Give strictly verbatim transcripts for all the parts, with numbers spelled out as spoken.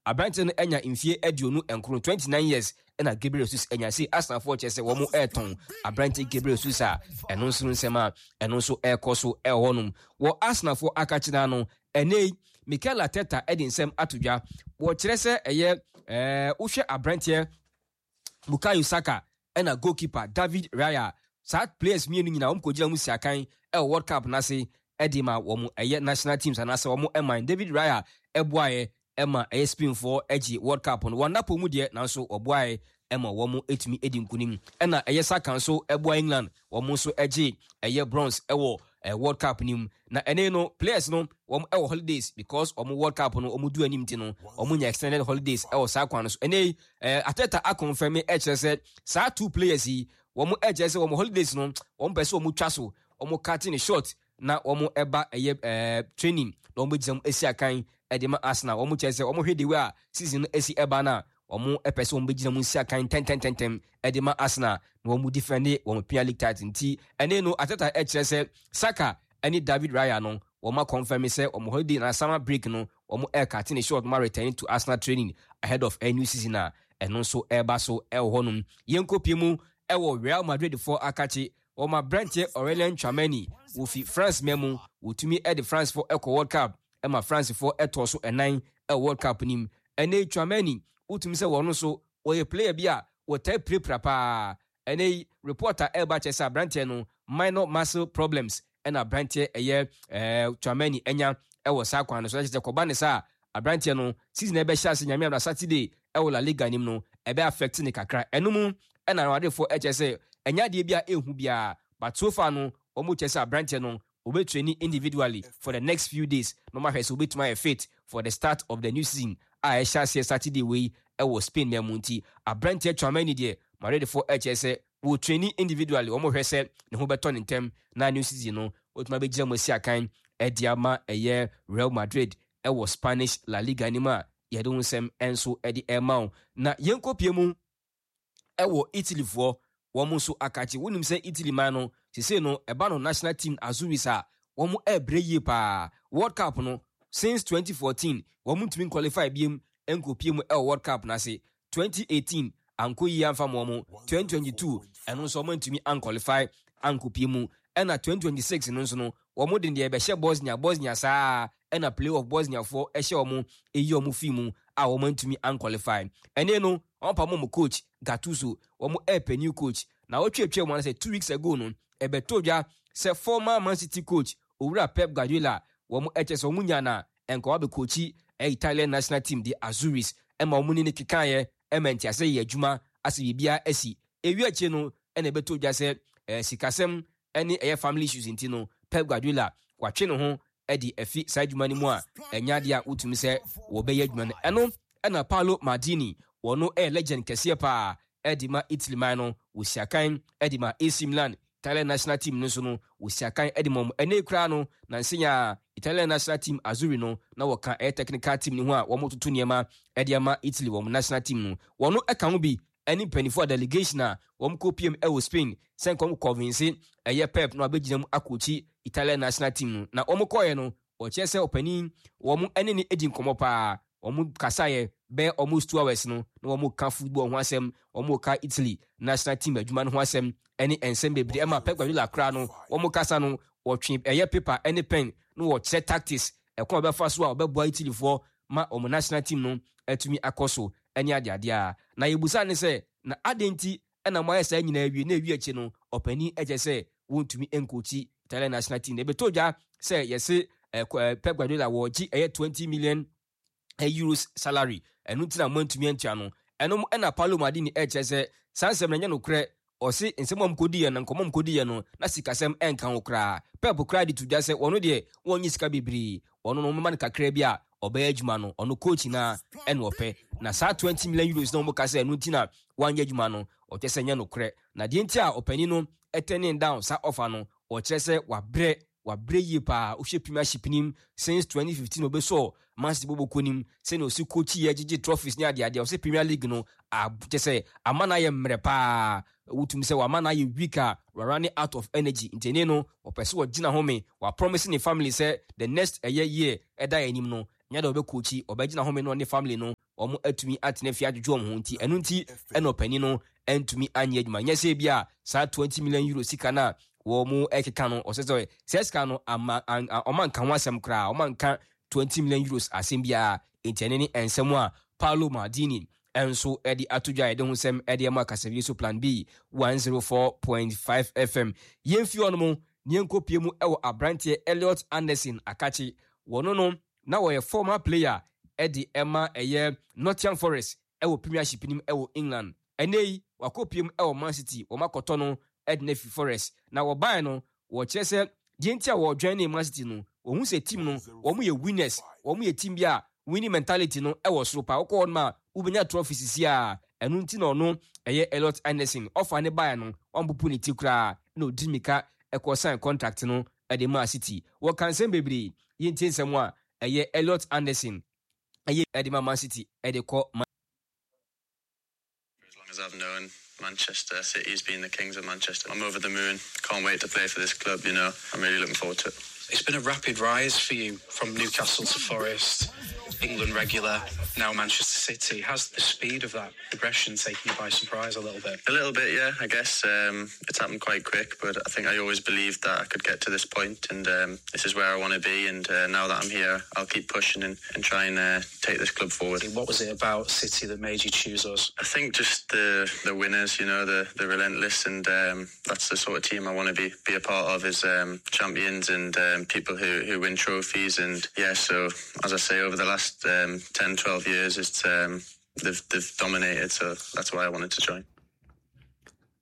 Aberanteɛ no anya mfie aduonu nkron, twenty-nine years, ɛna Gabriel Jesus anya se Arsenalfoɔ kyerɛ sɛ wɔn ɛretɔn aberanteɛ Gabriel Jesus a ɛno nso no nsɛm a ɛno nso ɛrekɔ so ɛwɔ hɔnom wɔ Arsenalfoɔ akakyena no. Ɛnɛ yi Mikel Arteta ɛde nsɛm ato dwa, wɔkyerɛ sɛ ɛyɛ ɛɛ wohwɛ aberanteɛ Bukayo Saka ɛna goalkeeper David Raya, saa players mmienu nyinaa wɔn kɔgyina mu si akan ɛwɔ World Cup n'ase ɛde ma wɔn ɛyɛ national teams anaasɛ wɔn ɛman. David Raya ɛboaeɛ ɛma ɛyɛ Spainfoɔ ɛgye World Cup no wɔn napɔ mu deɛ, nanso ɔboaeɛ ɛma wɔn ɛtumi ɛdi nkunim. Ɛna ɛyɛ Saka nso ɛboa England, wɔn nso ɛgye ɛyɛ bronze ɛwɔ ɛɛ World Cup nim. Na ɛne no players no wɔn ɛwɔ holidays because wɔn World Cup no wɔn du anim ti no wɔn nya extended holidays ɛwɔ saa kwan no so. Ɛne yi ɛɛ Arteta aconfirm ɛkyerɛ sɛ saa two players yi wɔn ɛkyerɛ sɛ wɔn holidays no wɔn pɛ sɛ wɔn twa so, wɔn cut ne short na wɔn ɛba ɛyɛ ɛɛ training na wɔn gyina mu esi akan ɛde ma Arsenal. Wɔn kyerɛ sɛ wɔn hwɛ de way a season no esi ɛba na wɔn ɛpɛ sɛ wɔn bɛgyina mu nsi akan ntɛntɛntɛntɛm ɛde ma Arsenal na wɔn defend wɔn Premier League title. Nti ɛne no Arteta ɛkyerɛ sɛ Saka ɛne David Raya no wɔn aconfirm sɛ wɔn holiday na summer break no wɔn ɛrecut ne short ma returning to Arsenal training ahead of a new season a ɛno nso ɛreba so ɛwɔ hɔnom. Yɛn kɔpie mu ɛwɔ Real Madrid foɔ akakye, wɔn aberanteɛ Aurelien Tchouameni wofi France mɛ wotumi ɛde France foɔ ɛkɔ World Cup ɛma France foɔ ɛtɔ so ɛnan ɛwɔ World Cup nim. Ɛnɛ Tchouameni wotumi sɛ wɔn nso wɔyɛ player bi a wɔtaa pirapira paa. Ɛnɛ yi report a ɛreba kyerɛ sɛ aberanteɛ no minor muscle problems ɛna aberanteɛ ɛyɛ ɛɛ Tchouameni ɛnya ɛwɔ saa kwan no so. Ɛkyerɛ sɛ kɔba ne saa aberanteɛ no season ɛbɛhyɛ ase Nyame amna Saturday ɛwɔ La Liga nim no ɛbɛ affect ne kakra. Ɛno mu ɛna awadefoɔ ɛkyerɛ sɛ ɛnyɛ adeɛ bi a ɛnhu biara, but so far no wɔn kyerɛ sɛ aberanteɛ no obɛtrain individually for the next few days na wɔn ahwɛ sɛ obɛtumi ayɛ fit for the start of the new season a ɛhyɛ aseɛ Saturday wei ɛwɔ Spain na mu. Nti aberanteɛ Tchouameni deɛ, Madridfoɔ ɛkyerɛ sɛ wɔ training individually, wɔn hwɛ sɛ ne ho bɛtɔ ne ntɛm na new season no wɔtumi abɛgyina mu asi akan ɛde ama ɛyɛ Real Madrid ɛwɔ Spanish La Liga anim a yɛde ho nsɛm nso ɛde ɛma wo. Na yɛnkɔpie mu ɛwɔ Italyfoɔ wɔn nso akakye. Wonim sɛ Italy man no sese no ɛba no national team Azzurris a wɔn ɛrebrɛ yie paa. World Cup no since twenty fourteen wɔn ntumi qualify biem nkɔpie mu ɛwɔ World Cup n'ase. twenty eighteen ankɔ yie amfa ma wɔn, twenty twenty-two ɛno nso wɔn ntumi anqualify ankɔpie mu, ɛna twenty twenty-six no nso no wɔn de deɛ ɛbɛhyɛ Bosnia Bosnia saa, ɛna play off Bosniafoɔ ɛhyɛ wɔn eyi wɔn fi mu a wɔn ntumi anqualify. Ɛne no wɔn pam wɔn coach Gattuso, wɔn ɛɛpɛ new coach. Na wɔtwetwe wɔn sɛ two weeks ago no ɛbɛtɔ dwa sɛ former Man City coach Owura Pep Guardiola wɔn ɛkyɛ sɛ wɔn nya na nkɔwa bɛ ɛyɛ Italian national team de Azzurris ɛma wɔn ne ne kekaeɛ ɛma ntiase yɛ adwuma asɛ biribiara asi ewi akyi no. Ɛna ɛbɛtɔ dwa sɛ ɛɛ sikasɛm ɛne ɛyɛ family issues nti no Pep Guardiola watwe ne ho ɛde afi saa adwuma no mu a ɛnya adeɛ a wotumi sɛ wɔbɛyɛ adwuma no. Ɛno ɛna Paolo Maldini, wɔno ɛyɛ legend kɛseɛ paa ɛde ma Italy man no, wɔsi akan ɛde ma A C Milan, Italian national team no nso no wɔsi akan ɛde ma wɔn. Ɛnɛ koraa no nansenya Italian national team Azzurri no na wɔka ɛyɛ technical team no ho a wɔn toto nneɛma ɛde ama Italy wɔn national team no. Wɔn ɛka ho bi ɛne mpanimfoɔ a delegation a wɔn kɔ piem ɛwɔ Spain sɛ nkɔm convince ɛyɛ Pep na wabɛgyina mu akɔkyi Italian national team no. Na wɔn kɔɔɛ no wɔkyerɛ sɛ ɔpanin wɔn ɛne ne edi nkɔmɔ paa. Wɔn kasaeɛ bɛyɛ almost two hours no na wɔn ka football ho asɛm, wɔn ka Italy national team adwuma no ho asɛm ɛne nsɛm bebree. Ɛma Pep Guardiola koraa no wɔn kasa no wɔtwe ɛyɛ paper ɛne pen na wɔkyerɛ tactics ɛkɔn a wɔbɛfa so a wɔbɛboa Italyfoɔ ma wɔn national team no atumi akɔ so ɛne adeadeɛ a. Na yɛbusa ne sɛ na adɛn nti ɛna mo ayɛ saa nyinaa awie na ewie akyi no ɔpanin ɛkyɛ sɛ wɔntumi nkɔkyi Italian national team? Na ebɛtɔ dwa sɛ yɛse ɛɛ Pep Guardiola wɔgye ɛyɛ twenty million euros salary, ɛno nti na mo antumi antua no. Ɛno ɛna Paolo Maldini ɛkyerɛ sɛ saa nsɛm no ɛnyɛ nokorɛ. Ɔse nsɛm a mkɔdiiɛ no, nkɔmmɔ mkɔdiiɛ no na sikasɛm ɛnka ho koraa. Pep koraa de to dwa sɛ wɔno deɛ wɔnyɛ sika bebree, ɔno no ɔmema no kakra bi a ɔbɛyɛ adwuma no. Ɔno coach na ɛna ɔpɛ na saa twenty million euros na wɔn ka sɛ ɛno nti na wanyɛ adwuma no, ɔkyerɛ sɛ nyɛ nokorɛ. Na deɛ nti a ɔpanin no ɛturning down saa offer no, ɔkyerɛ sɛ wabrɛ, wabrɛ yie paa. Wohwɛ Premiership nim since twenty fifteen obɛsɔ Man City bɔbɔ kɔ nim sɛnea ɔsi coach yɛ gyegye trophies ne adeadeɛ, ɔsɛ Premier League no kyɛ sɛ ama no ayɛ mmerɛ paa. Wotumi sɛ wama no ayɛ weak a running out of energy, nti ɛne no ɔpɛ sɛ ɔgyina home. Wapromise ne family sɛ the next ɛyɛ year ɛda anim no nyɛ dɛ ɔbɛcoachi, ɔbɛgyina home no ɔne family no. Wɔn atumi atena fie adwodwo wɔn ho, nti ɛno nti ɛna ɔpanin no ntumi anyɛ adwuma. Nyɛ sɛ bi a saa twenty million euro sika no a wɔn ɛkeka no, ɔsɛ sɛ sɛ sika no ama ɔma nka ho asɛm koraa, ɔma nka twenty million euros asɛm biara. Nti ɛne ne nsɛm a Paolo Maldini nso de ato dwa a yɛde ho nsɛm de ama kasafie so, Plan B one oh four point five F M. Yɛmfi hɔ no mu ne yɛnkɔpie mu wɔ aberanteɛ Elliot Anderson akakye. Wɔno no na wɔyɛ former player de ɛma ɛyɛ Nottingham Forest ɛwɔ Premiership nim ɛwɔ England. Ɛnɛ yi wakɔpie mu ɛwɔ Man City. Wɔn akɔtɔ no de no afi Forest, na wɔbaeɛ no, wɔkyerɛ sɛ deɛ nti a wɔjoin ne Man City no, wɔn sɛ team no wɔn yɛ winners, wɔn yɛ team bi a winning mentality no ɛwɔ soro paa. Wɔkɔ hɔ nom a, wobɛnya trophy sisi a ɛno nti na ɔno ɛyɛ Elliot Anderson ɔfa ne baeɛ no, ɔmpopo ne ti koraa na ɔdi mika ɛkɔ sign contract no ɛde maa City. Wɔka nsɛm bebree. Yɛntie nsɛm a ɛyɛ Elliot Anderson ɛyɛ ɛde ma Man City ɛde kɔ. As long as I've known Manchester City has been the kings of Manchester. I'm over the moon. Can't wait to play for this club, you know. I'm really looking forward to it. It's been a rapid rise for you from Newcastle to Forest, England regular, now Manchester City. Has the speed of that progression taken you by surprise a little bit? A little bit, yeah, I guess. Um, it's happened quite quick, but I think I always believed that I could get to this point, and um, this is where I want to be. And uh, now that I'm here, I'll keep pushing and, and try and uh, take this club forward. What was it about City that made you choose us? I think just the the winners, you know, the the relentless, and um, that's the sort of team I want to be be a part of, is um, champions and um, people who, who win trophies. And yeah, so as I say, over the last um, ten, twelve years, it's um, they've they've dominated. So that's why I wanted to join.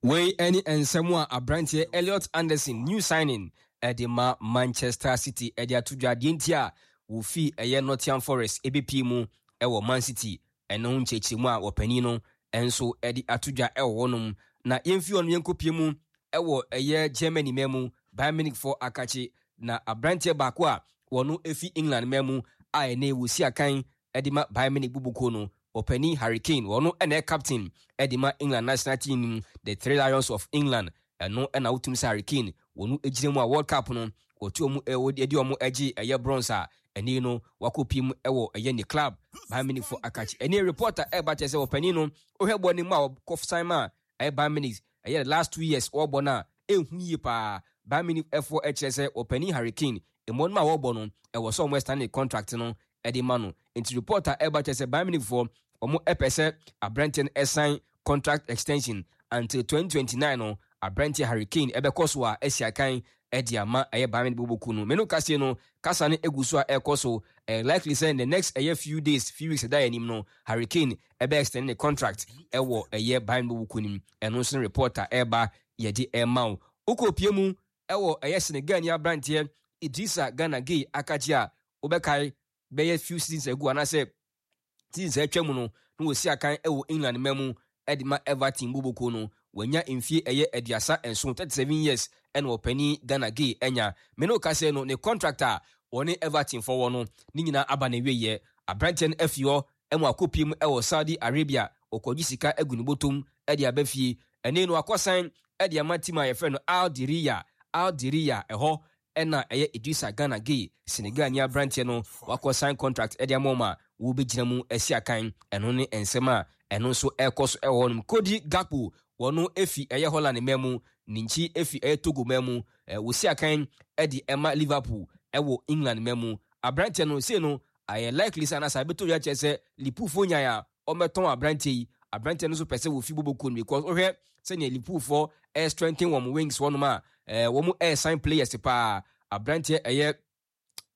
Wei ne nsɛm a aberanteɛ Elliot Anderson, new signing ɛde ma Manchester City, ɛde ato dwa. Deɛ nti a wofi ɛyɛ Nottingham Forest ɛbɛpie mu ɛwɔ Man City, ɛno ho nkyerɛkyerɛmu a wɔpanin no nso ɛde ato dwa ɛwɔ hɔnom. Na yɛmfi hɔ no, yɛnkɔpie mu ɛwɔ ɛyɛ Germany ma mu, Bayern Munich foɔ akakye. Na aberanteɛ baako a wɔno efi England ma mu a ɛnɛ wɔsi akan ɛde ma Bayern Munich bubukuo no, ɔpanin Harry Kane, wɔno ɛna ɛ captain ɛde ma England national team no, the Three Lions of England. Ɛno ɛna wotum sɛ Harry Kane wɔno gyina mu a World Cup no wɔtu ɔmo ɛde ɔmo agye ɛyɛ bronze a ɛne no wakɔ mu ɛwɔ ɛyɛ ne club Bayern Munich fo akakye. Ɛne report a ɛba kyerɛ sɛ ɔpanin no, wohwɛ bɔ ne mu a wɔkɔ sign ma ɛyɛ Bayern Munich, ɛyɛ the last two years wɔrebɔ no a ɛnhu yie paa. Bayern Munich ɛfoɔ ɛkyerɛ sɛ ɔpanin Harry Kane mmɔ no a wɔrebɔ no, ɛwɔ sɛ ɔmo extend ne contract no ɛde ma no. Nti report a ɛba kyerɛ sɛ Bayern Munich foɔ ɔmo ɛpɛ sɛ aberanteɛ no ɛsign contract extension until twenty twenty-nine no. Aberanteɛ Harry Kane ɛbɛkɔ so a ɛsi akan ɛde ama ɛyɛ Bayern Munich bɔbɔku no. Menu kaseɛ no, kasa no egu so a ɛkɔ so. Ɛyɛ likely sɛ in the next ɛyɛ few days, few weeks ɛda yɛn anim no, Harry Kane ɛbɛ extend ne contract ɛwɔ ɛyɛ Bayern bɔbɔku no mu. Ɛno nso no report a ɛreba yɛde ɛma wo. Wokɔ pie mu ɛwɔ ɛyɛ Senegal ni aberanteɛ Idrissa Gana Gueye akakye a wobɛkae bɛyɛ few seasons ago anaasɛ seasons atwa mu no na wɔsi akan ɛwɔ England ma mu ɛde ma Everton boboko no. Wanya mfie ɛyɛ aduasa nson, thirty seven years, ɛna ɔpanin Gana Gueye ɛnya. Mene wo kasɛ no, ne contract a wɔne Everton fɔwɔ no ne nyinaa aba na wieyɛ. Aberanteɛ no afi hɔ ɛmu akɔpie mu ɛwɔ Saudi Arabia, ɔkɔgye sika agu ne bɔtɔm ɛde aba fie. Ɛne no akɔsan ɛde ama team a yɛfrɛ no Al Diriya. Al Diriya ɛhɔ ɛna ɛyɛ Idrissa Gana Gueye, Senegal ni aberanteɛ no, wakɔ sign contract ɛde ama wɔn a wɔbɛgyina mu asi akan. Ɛno ne nsɛm a ɛno nso ɛrekɔ so ɛwɔ hɔnom. Cody Gakpo, wɔno efi ɛyɛ Holland mma mu, ne nkyi efi ɛyɛ Togo mma mu, ɛɛ wɔsi akan ɛde ɛma Liverpool ɛwɔ England mma mu. Aberanteɛ no sei no ayɛ likely sɛ anasa ɛbɛtɔ dwa kyerɛ sɛ Liverpool nyan a ɔmɛtɔn aberanteɛ yi. Aberanteɛ no nso pɛ sɛ wɔfi boboko no because wohwɛ sɛnea Liverpool foɔ ɛyɛ strengthen wɔn wings wɔnom a ɛɛ wɔn ɛyɛ sign players paa. Aberanteɛ ɛyɛ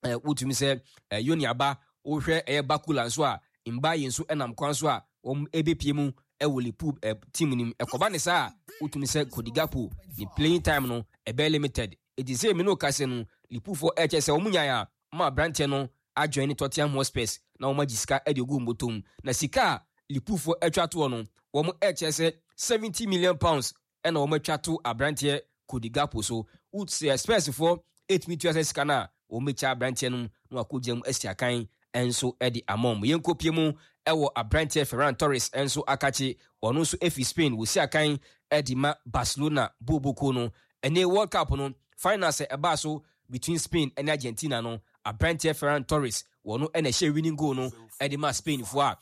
ɛɛ wotumi sɛ ɛɛ Yoni aba, wohwɛ ɛyɛ Barcola nso a Mbaye nso ɛnam kwan so a wɔn ɛbɛpie mu ɛwɔ Liverpool ɛ team nim. Ɛkɔba ne saa a, wotumi sɛ Cody Gakpo ne playing time no ɛbɛyɛ limited. Eti sɛ emi no kase no, Liverpool foɔ ɛkyɛ sɛ wɔn nyan a wɔn aberanteɛ no ajoin ne Tottenham Hotspurs na wɔn agye sika ɛde ogu mbɔtɔm. Na sika a Liverpool foɔ atwa toɔ no, wɔn ɛkyɛ sɛ seventy million pounds ɛna wɔn atwa to aberanteɛ Cody Gakpo so. Sɛ Spurs foɔ ɛtumi tua sɛ sika no a, wɔn bɛkyɛ aberanteɛ no na wakɔ gyina mu asi akan nso de ama wɔn. Yɛnkɔpie mu ɛwɔ aberanteɛ Ferran Torres nso akakye. Ɔno nso efi Spain, wɔsi akan de ma Barcelona boboko no. Ɛne World Cup no finals ɛbaa so between Spain ne Argentina no, aberanteɛ Ferran Torres, wɔno ɛna ɛhyɛ winning goal no de ma Spain foɔ a